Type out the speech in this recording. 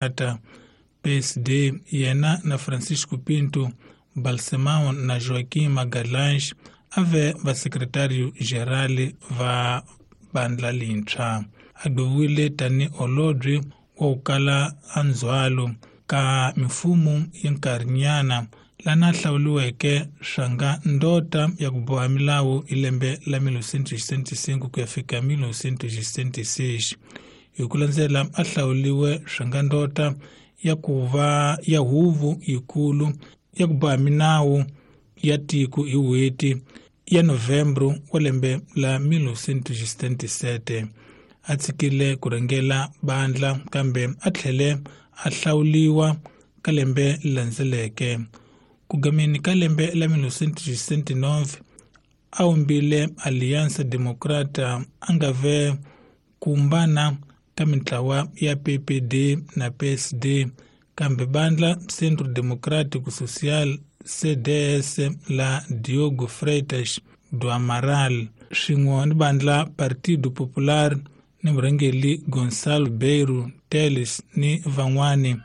Ata PSD yena na Francisco Pinto Balsemão na Joaquim Magalhães a ve vasekretariyo geral va bandla lintshwa. A gweviwile tani holobye wa ku kala a ndzhwalo ka mimfumo ya nkarhinyana lana hlawuriweke swa nga ndota ya ku boha milawu hi lembe la 1965 ku ya fika 1966. Hi ku landzela a hlawuriwe swa nga ndota ya ku va ya huvo yikulu ya ku boha minawu ya tiko hi n'hweti ya Novembro wa lembe la 1977. A tshikile ku rhangela bandla kambe a tlhele a hlawuriwa ka lembe landzeleke. Ku gameni ka lembe la 1969 a vumbile Aliança Democrata a nga ve kumbana ka mintlawa ya PPD na PSD kambe bandla Centro Democrático Social CDS la Diogo Freitas do Amaral swin'we ni bandla Partido Popular ni murhangeri Gonçalo Beiro Teles ni van'wani.